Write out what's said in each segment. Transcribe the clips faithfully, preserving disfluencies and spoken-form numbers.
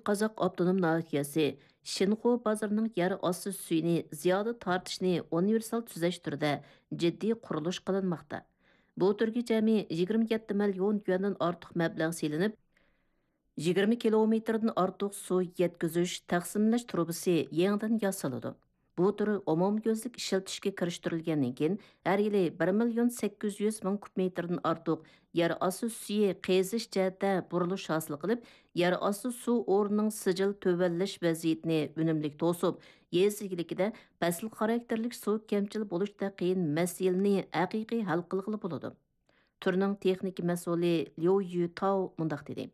قازاق ئاپتونوم ناھىيەسى شىنخۇ بازىرىنىڭ يەر ئاستى سۈيىنى زىيادە تارتىشنى ئۇنىۋېرسال تۈزەش تۈرىدە جىددىي قۇرۇلۇش قىلىنماقتا. بۇ تۈرگە جەمئىي يىگىرمە يەتتە مىليون يۈەندىن ئارتۇق مەبلەغ سېلىنىپ، يىگىرمە كىلومېتىردىن ئارتۇق سۇ يەتكۈزۈش، تەقسىملەش تۇرۇبىسى يېڭىدىن ياسىلىدۇ. بۇ تۈر ئومۇميۈزلۈك ئىشلىتىشكە كىرىشتۈرۈلگەندىن كېيىن، ھەر يىلى بىر مىليون سەككىز يۈز مىڭ كۇب مېتىردىن ئارتۇق يەر ئاستى سۈيى قېزىش جەھەتتە بۇرۇلۇش ھاسىل قىلىپ، يەر ئاستى سۇ ئورنىنىڭ سىجىل تۆۋەنلەش ۋەزىيىتىنى ئۈنۈملۈك توسۇپ، يېزا ئىگىلىكىدە پەسىل خاراكتېرلىك سۇ كەمچىل بولۇشتا قىيىن مەسىلىنى ھەقىقىي ھەل قىلغىلى بولىدۇ. تۈرنىڭ تېخنىكا مەسئۇلى ليۇ يۈتاۋ مۇنداق دېدى: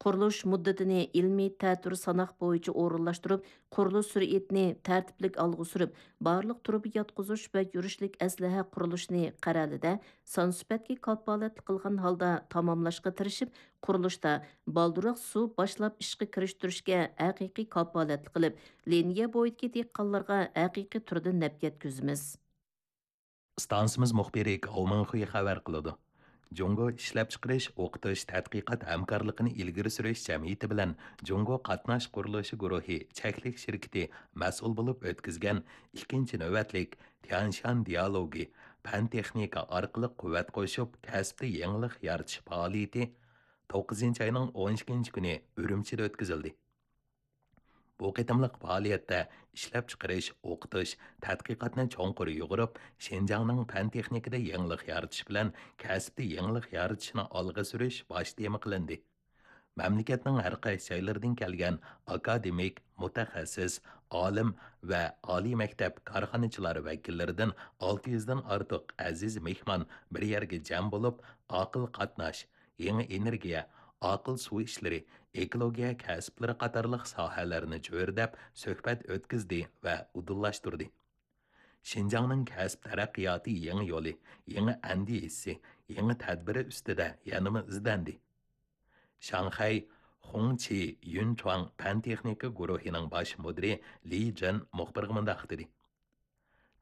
قۇرۇلۇش مۇددىتىنى ئىلمىي تەتۈر ساناق بويىچە ئورۇنلاشتۇرۇپ، قۇرۇلۇش سۈرئىتىنى تەرتىپلىك ئالغا سۈرۈپ، بارلىق تۇرۇبا ياتقۇزۇش ۋە يۈرۈشلۈك ئەسلىھە قۇرۇلۇشىنى قەرەلىدە سان سۈپەتكە كاپالەتلىك قىلغان ھالدا تاماملاشقا تىرىشىپ، قۇرۇلۇشتا بالدۇرراق سۇ باشلاپ ئىشقا كىرىشتۈرۈشكە ھەقىقىي كاپالەتلىك قىلىپ، لىنىيە بويىدىكى دېھقانلارغا ھەقىقىي تۈردە نەپ يەتكۈزىمىز. ئىستانسىمىز مۇخبىرى گاۋ مىڭخۇي خەۋەر قىلىدۇ. جۇڭگو ئىشلەپچىقىرىش، ئوقۇتۇش، تەتقىقات ھەمكارلىقىنى ئىلگىرى سۈرۈش جەمئىيىتى بىلەن جۇڭگو قاتناش قۇرۇلۇشى گۇرۇھى چەكلىك شىركىتى مەسئۇل بولۇپ ئۆتكۈزگەن ئىككىنچى نۆۋەتلىك تيەنشان دىيالوگى پەن-تېخنىكا ئارقىلىق قۇۋۋەت قوشۇپ، كەسىپتە يېڭىلىق يارىتىش پائالىيىتى توققۇزىنچى ئاينىڭ ئون ئىككىنچى كۈنى ئۈرۈمچىدە ئۆتكۈزۈلدى. بۇ قېتىملىق پائالىيەتتە ئىشلەپچىقىرىش، ئوقۇتۇش، تەتقىقاتنى چوڭقۇر يۇغۇرۇپ، شىنجاڭنىڭ پەن-تېخنىكىدا يېڭىلىق يارىتىش بىلەن كەسىپتە يېڭىلىق يارىتىشنى ئالغا سۈرۈش باش تېما قىلىندى. مەملىكەتنىڭ ھەر قايسى جايلىرىدىن كەلگەن ئاكادېمىك، مۇتەخەسسىس، ئالىم ۋە ئالىي مەكتەپ كارخانىچىلار ۋەكىللىرىدىن ئالتە يۈزدىن ئارتۇق ئەزىز مېھمان بىر يەرگە جەم بولۇپ، ئاقىل قاتناش، يېڭى ئېنېرگىيە، ئاقىل سۇ ئىشلىرى، ئېكولوگىيە كەسىپلىرى قاتارلىق ساھەلەرنى چۆرىدەپ سۆھبەت ئۆتكۈزدى ۋە ئۇدۇللاشتۇردى. شىنجاڭنىڭ كەسىپ تەرەققىياتى يېڭى يولى، يېڭى ئەندىزىسى، يېڭى تەدبىرى ئۈستىدە يەنىمۇ ئىزدەندى. شاڭخەي خۇڭچى يۈنچۇاڭ پەن-تېخنىكا گۇرۇھىنىڭ باش مۇدىرى لى جېن مۇخبىرغا مۇنداق دېدى: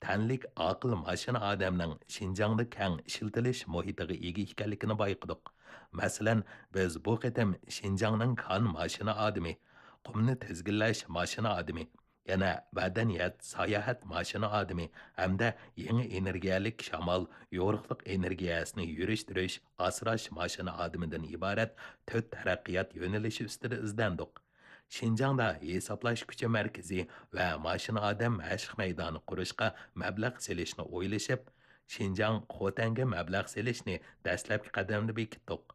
تەنلىك ئاقىل ماشىنا ئادەمنىڭ شىنجاڭدا كەڭ ئىشلىتىلىش مۇھىتىغا ئىگە ئىكەنلىكىنى بايقىدۇق. مەسىلەن، بىز بۇ قېتىم شىنجاڭنىڭ كان ماشىنا ئادىمى، قۇمنى تىزگىنلەش ماشىنا ئادىمى، يەنە مەدەنىيەت، ساياھەت ماشىنا ئادىمى ھەمدە يېڭى ئېنېرگىيەلىك شامال، يورۇقلۇق ئېنېرگىيەسىنى يۈرۈشتۈرۈش، ئاسراش ماشىنا ئادىمىدىن ئىبارەت تۆت تەرەققىيات يۆنىلىشى ئۈستىدە ئىزدەندۇق. شىنجاڭدا ھېسابلاش كۈچى مەركىزى ۋە ماشىنا ئادەم مەشىق مەيدانى قۇرۇشقا مەبلەغ سېلىشنى ئويلىشىپ، شىنجاڭ خوتەنگە مەبلەغ سېلىشنى دەسلەپكى قەدەمدە بېكىتتۇق.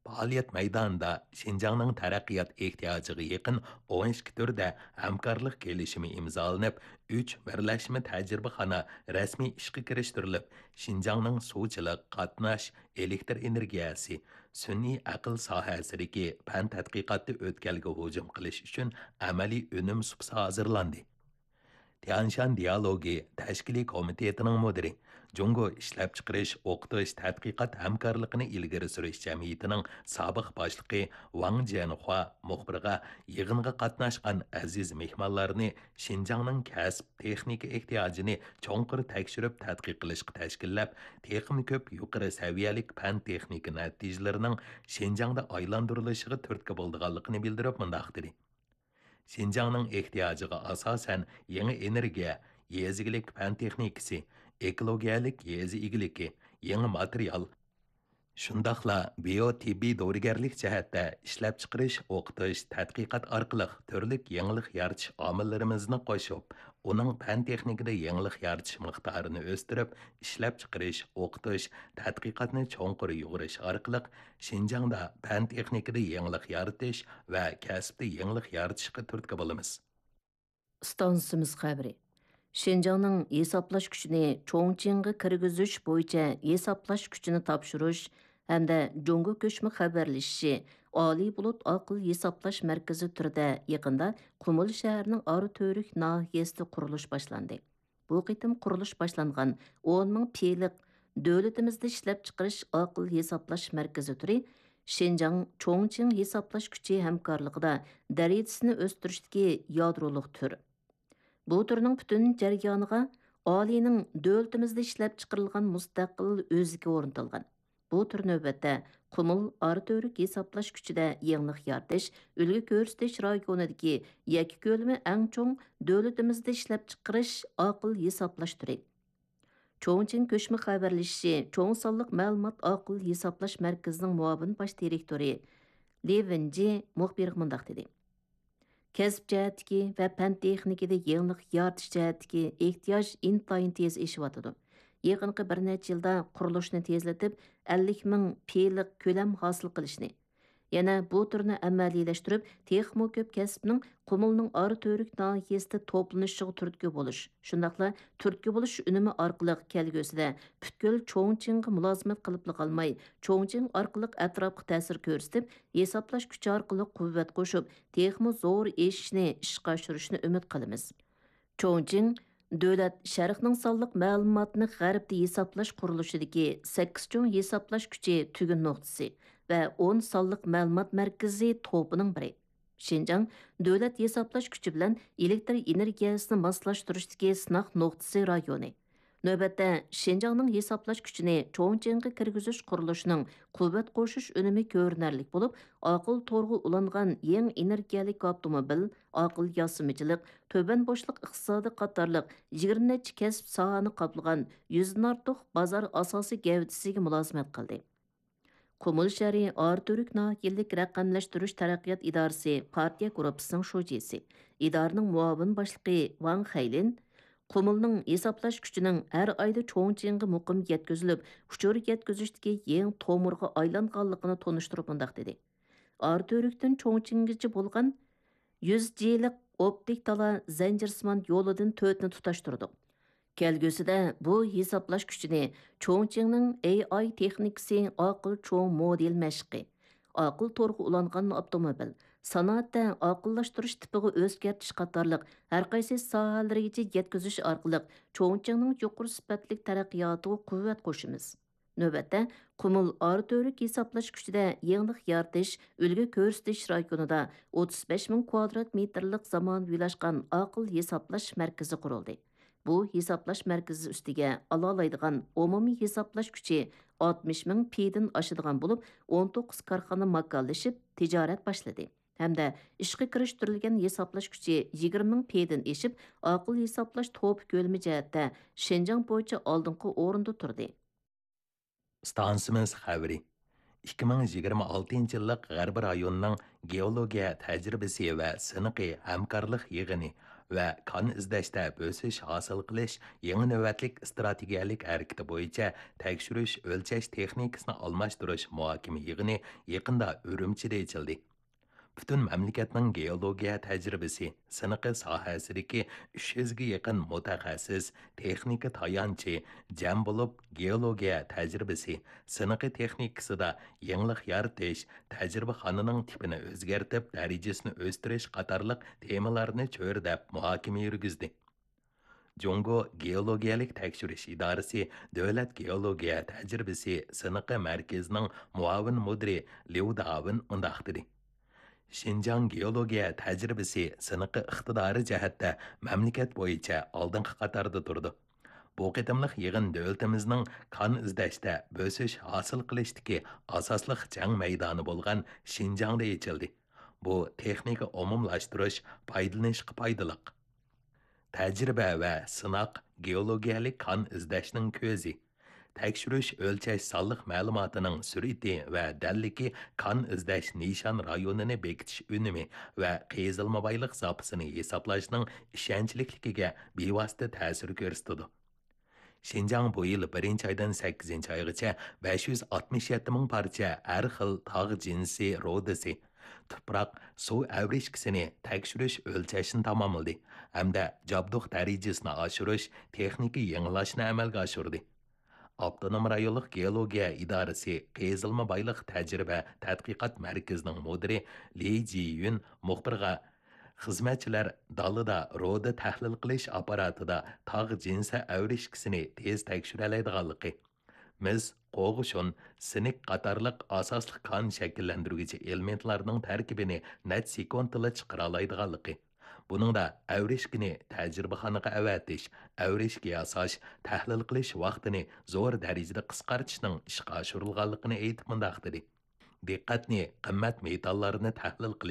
پائالىيەت مەيدانىدا شىنجاڭنىڭ تەرەققىيات ئېھتىياجىغا يېقىن ئون ئىككى تۈردە ھەمكارلىق كېلىشىمى ئىمزالىنىپ، ئۈچ بىرلەشمە تەجرىبىخانا رەسمىي ئىشقا كىرىشتۈرۈلۈپ، شىنجاڭنىڭ سۇچىلىق، قاتناش، ئېلېكتر ئېنېرگىيەسى، سۈنئىي ئەقىل ساھەسىدىكى پەن تەتقىقاتتا ئۆتكەلگە ھۇجۇم قىلىش ئۈچۈن ئەمەلىي ئۈنۈم سۇپىسى ھازىرلاندى. تيەنشان دىيالوگى تەشكىلىي كومىتېتىنىڭ مۇدىرى، جۇڭگو ئىشلەپچىقىرىش، ئوقۇتۇش، تەتقىقات ھەمكارلىقىنى ئىلگىرى سۈرۈش جەمئىيىتىنىڭ سابىق باشلىقى ۋاڭ جيەنخۇا مۇخبىرغا يىغىنغا قاتناشقان ئەزىز مېھمانلارنى شىنجاڭنىڭ كەسىپ، تېخنىكا ئېھتىياجىنى چوڭقۇر تەكشۈرۈپ تەتقىق قىلىشقا تەشكىللەپ، تېخىمۇ كۆپ يۇقىرى سەۋىيەلىك پەن-تېخنىكا نەتىجىلىرىنىڭ شىنجاڭدا ئايلاندۇرۇلۇشىغا تۈرتكە بولىدىغانلىقىنى بىلدۈرۈپ مۇنداق دېدى: شىنجاڭنىڭ ئېھتىياجىغا ئاساسەن، يېڭى ئېنېرگىيە، يېزا ئىگىلىك پەن تېخنىكىسى، ئېكولوگىيەلىك يېزا ئىگىلىكى، يېڭى ماتېرىيال، شۇنداقلا بىيو تېببىي دورىگەرلىك جەھەتتە ئىشلەپچىقىرىش، ئوقۇتۇش، تەتقىقات ئارقىلىق تۈرلۈك يېڭىلىق يارىتىش ئامىللىرىمىزنى قوشۇپ، ئۇنىڭ پەن تېخنىكىدا يېڭىلىق يارىتىش مىقدارىنى ئۆستۈرۈپ، ئىشلەپچىقىرىش، ئوقۇتۇش، تەتقىقاتنى چوڭقۇر يۇغۇرۇش ئارقىلىق شىنجاڭدا پەن تېخنىكىدا يېڭىلىق يارىتىش ۋە كەسىپتە يېڭىلىق يارىتىشقا تۈرتكە بولىمىز. ئىستانسىمىز خەۋىرى. شىنجاڭنىڭ ھېسابلاش كۈچىنى چوڭچىڭغا كىرگۈزۈش بويىچە ھېسابلاش كۈچىنى تاپشۇرۇش ھەمدە جۇڭگو كۆچمە خەۋەرلىشىشى، ئالىي بۇلۇت ئاقىل ھېسابلاش مەركىزى تۈرىدە يېقىندا قۇمۇل شەھىرىنىڭ ئاراتۈرۈك ناھىيەسىدە قۇرۇلۇش باشلاندى. بۇ قېتىم قۇرۇلۇش باشلانغان ئون مىڭ پىلىق دۆلىتىمىزدە ئىشلەپچىقىرىش ئاقىل ھېسابلاش مەركىزى تۈرى شىنجاڭ چوڭچىڭ ھېسابلاش كۈچى ھەمكارلىقىدا دەرىجىسىنى ئۆستۈرۈشتىكى يادرولۇق تۈر. بۇ تۈرنىڭ پۈتۈن جەريانىغا ئالىينىڭ دۆلىتىمىزدە ئىشلەپچىقىرىلغان مۇستەقىل ئۆزىكى ئورنىتىلغان. بۇ تۈر نۆۋەتتە قۇمۇل ئارا تۈۋرۈك ھېسابلاش كۈچىدە يېڭىلىق يارىتىش، ئۈلگە كۆرسىتىش رايونىدىكى يەككە كۆلىمى ئەڭ چوڭ، دۆلىتىمىزدە ئىشلەپچىقىرىش ئاقىل ھېسابلاش تۈرى. چوڭچىڭ كۆچمە خەۋەرلىشىشى چوڭ سانلىق مەلۇمات ئاقىل ھېسابلاش مەركىزىنىڭ مۇئاۋىن باش دىرېكتورى لى ۋېنجى مۇخبىرغا مۇنداق دېدى: كەسىپ جەھەتتىكى ۋە پەن تېخنىكىدا يېڭىلىق يارىتىش جەھەتتىكى ئېھتىياج ئىنتايىن تېز ئېشىۋاتىدۇ. يېقىنقى بىر نەچچە يىلدا قۇرۇلۇشنى تېزلىتىپ، ئەللىك مىڭ پىلىق كۆلەم ھاسىل قىلىشنى، يەنە بۇ تۈرنى ئەمەلىيلەشتۈرۈپ، تېخىمۇ كۆپ كەسىپنىڭ قۇمۇلنىڭ ئارا تۈۋرۈك ناھىيەسىدە توپلىنىشىغا تۈرتكە بولۇش، شۇنداقلا تۈرتكە بولۇش ئۈنۈمى ئارقىلىق كەلگۈسىدە پۈتكۈل چوڭچىڭغا مۇلازىمەت قىلىپلا قالماي، چوڭچىڭ ئارقىلىق ئەتراپقا تەسىر كۆرسىتىپ، ھېسابلاش كۈچى ئارقىلىق قۇۋۋەت قوشۇپ، تېخىمۇ زور ئېشىشنى ئىشقا ئاشۇرۇشنى ئۈمىد قىلىمىز. چوڭچىڭ دۆلەت شەرقنىڭ سانلىق مەلۇماتنى غەربتە ھېسابلاش قۇرۇلۇشىدىكى سەككىز چوڭ ھېسابلاش كۈچى تۈگۈن نۇقتىسى ۋە ئون سانلىق مەلۇمات مەركىزى توپىنىڭ بىرى. شىنجاڭ دۆلەت ھېسابلاش كۈچى بىلەن ئېلېكتر ئېنېرگىيەسىنى ماسلاشتۇرۇشتىكى سىناق نۇقتىسى رايونى. نۆۋەتتە، شىنجاڭنىڭ ھېسابلاش كۈچىنى چوڭچىڭغا كىرگۈزۈش قۇرۇلۇشىنىڭ قۇۋۋەت قوشۇش ئۈنۈمى كۆرۈنەرلىك بولۇپ، ئاقىل تورغا ئۇلانغان يېڭى ئېنېرگىيەلىك ئاپتوموبىل، ئاقىل ياسىمىچىلىق، تۆۋەن بوشلۇق ئىقتىسادى قاتارلىق يىگىرمە نەچچە كەسىپ ساھەنى قاپلىغان يۈزدىن ئارتۇق بازار ئاساسىي گەۋدىسىگە مۇلازىمەت قىلدى. قۇمۇل شەھىرى ئارا تۈۋرۈك ناھىيەلىك رەقەملەشتۈرۈش تەرەققىيات ئىدارىسى پارتىيە گۇرۇپپىسىنىڭ شۇجىسى، ئىدارىنىڭ مۇئاۋىن باشلىقى ۋاڭ خەيلىن قۇمۇلنىڭ ھېسابلاش كۈچىنىڭ ھەر ئايدا چوڭچىڭغا مۇقىم يەتكۈزۈلۈپ، ئۇچۇر يەتكۈزۈشتىكى يېڭى تومۇرغا ئايلانغانلىقىنى تونۇشتۇرۇپ مۇنداق دېدى: ئارا تۈۋرۈكتىن چوڭچىڭگىچە بولغان يۈز جىلىق ئوپتىك تالا زەنجىرسىمان يولىدىن تۆتنى تۇتاشتۇردۇق. كەلگۈسىدە بۇ ھېسابلاش كۈچىنى چوڭچىڭنىڭ ئېي ئاي تېخنىكىسى، ئاقىل چوڭ مودېل مەشىقى، ئاقىل تورغا ئۇلانغان ئاپتوموبىل، سانائەتتە ئاقىللاشتۇرۇش تىپىغا ئۆزگەرتىش قاتارلىق ھەرقايسى ساھەلىرىگىچە يەتكۈزۈش ئارقىلىق چوڭچىڭنىڭ يۇقىرى سۈپەتلىك تەرەققىياتىغا قۇۋۋەت قوشىمىز. نۆۋەتتە، قۇمۇل ئارا تۈۋرۈك ھېسابلاش كۈچىدە يېڭىلىق يارىتىش، ئۈلگە كۆرسىتىش رايونىدا ئوتتۇز بەش مىڭ كۋادرات مېتىرلىق زامانىۋىلاشقان ئاقىل ھېسابلاش مەركىزى قۇرۇلدى. بۇ ھېسابلاش مەركىزى ئۈستىگە ئالالايدىغان ئومۇمىي ھېسابلاش كۈچى ئاتمىش مىڭ پىدىن ئاشىدىغان بولۇپ، ئون توققۇز كارخانا ماكانلىشىپ تىجارەت باشلىدى ھەمدە ئىشقا كىرىشتۈرۈلگەن ھېسابلاش كۈچى يىگىرمە مىڭ پىدىن ئېشىپ، ئاقىل ھېسابلاش توپى كۆلىمى جەھەتتە شىنجاڭ بويىچە ئالدىنقى ئورۇندا تۇردى. ئىستانسىمىز خەۋىرى. ئىككى مىڭ يىگىرمە ئالتىنچى يىللىق غەربىي رايوننىڭ گېئولوگىيە تەجرىبىسى ۋە سىنىقى ھەمكارلىق يىغىنى ۋە كان ئىزدەشتە بۆسۈش ھاسىل قىلىش يېڭى نۆۋەتلىك ئىستراتېگىيەلىك ھەرىكىتى بويىچە تەكشۈرۈش ئۆلچەش تېخنىكىسىنى ئالماشتۇرۇش مۇھاكىمە يىغىنى يېقىندا ئۈرۈمچىدە ئېچىلدى. پۈتۈن مەملىكەتنىڭ گېئولوگىيە تەجرىبىسى سىنىقى ساھەسىدىكى ئۈچ يۈزگە يېقىن مۇتەخەسسىس، تېخنىكا تايانچى جەم بولۇپ، گېئولوگىيە تەجرىبىسى سىنىقى تېخنىكىسىدا يېڭىلىق يارىتىش، تەجرىبىخانىنىڭ تىپىنى ئۆزگەرتىپ، دەرىجىسىنى ئۆستۈرۈش قاتارلىق تېمىلارنى چۆرىدەپ مۇھاكىمە يۈرگۈزدى. جۇڭگو گېئولوگىيەلىك تەكشۈرۈش ئىدارىسى دۆلەت گېئولوگىيە تەجرىبىسى سىنىقى مەركىزىنىڭ مۇئاۋىن مۇدىرى ليۇ داۋېن مۇنداق دېدى: شىنجاڭ گېئولوگىيە تەجرىبىسى سىنىقى ئىقتىدارى جەھەتتە مەملىكەت بويىچە ئالدىنقى قاتاردا تۇرىدۇ. بۇ قېتىملىق يىغىن دۆلىتىمىزنىڭ كان ئىزدەشتە بۆسۈش ھاسىل قىلىشتىكى ئاساسلىق جەڭ مەيدانى بولغان شىنجاڭدا ئېچىلدى. بۇ تېخنىكا ئومۇملاشتۇرۇش، پايدىلىنىشقا پايدىلىق. تەجرىبە ۋە سىناق گېئولوگىيەلىك كان ئىزدەشنىڭ كۆزى. تەكشۈرۈش ئۆلچەش سانلىق مەلۇماتىنىڭ سۈرئىتى ۋە دەللىكى كان ئىزدەش نىشان رايونىنى بېكىتىش ئۈنۈمى ۋە قېزىلما بايلىق زاپىسىنى ھېسابلاشنىڭ ئىشەنچلىكلىكىگە بىۋاسىتە تەسىر كۆرسىتىدۇ. شىنجاڭ بۇ يىل بىرىنچى ئايدىن سەككىزىنچى ئايغىچە بەش يۈز ئاتمىش يەتتە مىڭ پارچە ھەر خىل تاغ جىنسى رۇدىسى، تۇپراق، سۇ ئەۋرىشكىسىنى تەكشۈرۈش ئۆلچەشنى تاماملىدى ھەمدە جابدۇق دەرىجىسىنى ئاشۇرۇش، تېخنىكا يېڭىلاشنى ئەمەلگە ئاشۇردى. ئاپتونوم رايونلۇق گېئولوگىيە ئىدارىسى قېزىلما بايلىق تەجرىبە تەتقىقات مەركىزىنىڭ مۇدىرى لى جىيۈن مۇخبىرغا، خىزمەتچىلەر دالىدا رۇدا تەھلىل قىلىش ئاپپاراتىدا تاغ جىنسى ئەۋرىشكىسىنى تېز تەكشۈرەلەيدىغانلىقى، مىس، قوغۇشۇن، سىنىك قاتارلىق ئاساسلىق كان شەكىللەندۈرگۈچى ئېلېمېنتلارنىڭ تەركىبىنى نەچچە سېكۇنتتىلا چىقىرالايدىغانلىقى، بۇنىڭدا ئەۋرىشكىنى تەجرىبىخانىغا ئەۋەتىش، ئەۋرىشكە ياساش، تەھلىل قىلىش ۋاقتىنى زور دەرىجىدە قىسقارتىشنىڭ ئىشقا ئاشۇرۇلغانلىقىنى ئېيتىپ مۇنداق دېدى: دىققەتنى قىممەت مېتاللارنى تەھلىل قىلىش